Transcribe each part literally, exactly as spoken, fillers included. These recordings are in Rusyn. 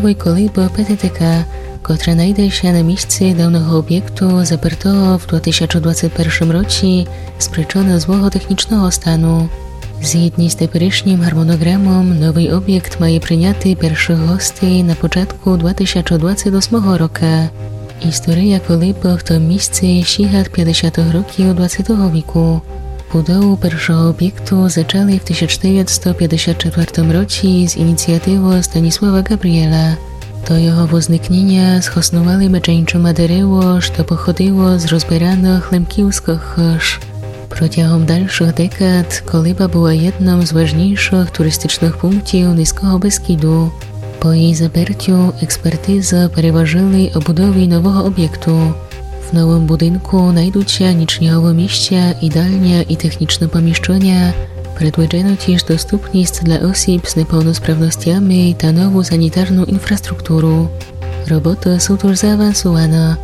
Новый колиба П Т Т К, котра найде ся на місци давного обєкту, запертого в два тисячы двадцет першым році з причыны злого технічного стану. Згідні з теперішнім гармонограмом, новый обєкт має приняти першых гостей на початку два тисячы двадцет осмого рока. Істория колибы в том місци сіґат пятдесятых років двадцетого віку. Будову першого обєкту зачали в тисяч девятсто пятдесят четвертым році з ініціативы Станіслава Ґабрієла. До його возникніня схоснували медже іншыма дерево, што походило з розбираных лемківскых хыж. Протягом дальшых декад колиба была єдным з важнійшых туристичных пунктів Низького Бескіду. По її запертю експертизы переважили о будові нового обєкту. В новым будинку найдуть ся нічніговы місця, їдальня і технічны поміщыня. Предвиджено тіж доступніст для осіб з неповносправностями та нову санітарну інфраструктуру. Роботы суть уж заавансуваны.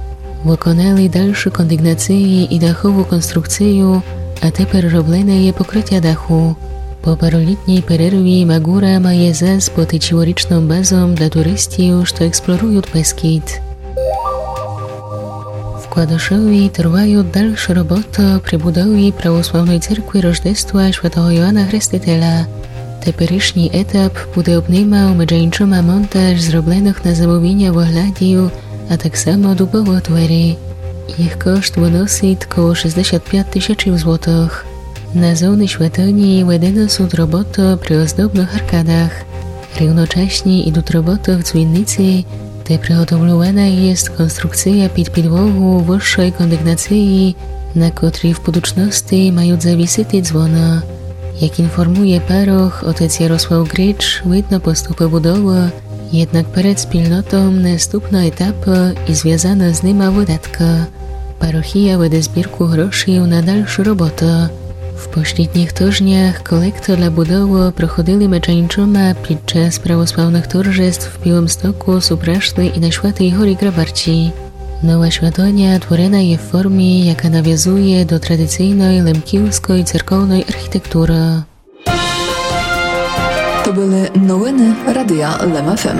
Выконали дальшы кондигнації і дахову конструкцію, а тепер роблене є покрытя даху. По паролітній перерві Магура має зас быти цілорічным базом для туристів, што експлорують Бескід. В Кладышові тривають дальшы роботы при будові православной церкви Рождества Святого Йоана Хрестителя. Теперішній етап буде обнимав медже іншыма монтаж зробленых на замовіня выглядів, а так само дубовых дверей. Їх кошт выносить коло шістдесят пять тисяч злотых. На зоні святыні ведены суть роботы при оздобных аркадах. Рівночасні ідуть роботы в дзвінниці, де приготовлювана єст конструкція під підлогу высшой кондигнації, на котрій в будучности мають завісити дзвоны. Як інформує парох отець Ярослав Грич, видно поступы будовы, єднак перед спільнотом наступны етапы і звязаны з нима выдаткы. Парохія веде збірку грошів на дальшы роботы. В послідніх тыжнях колекту для будовы проходили медже іншыма під час православных торжеств в Білым Стоку, Супрашни і на Святій горі Грабарці. Нова святыня творена є в формі, яка навязує до традиційной лемківской церковной архітектуры. То были новины Радия Лем Ф М.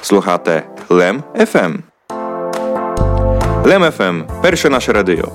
Слухате Лем Ф М. Лем Ф М, перше наше радіо.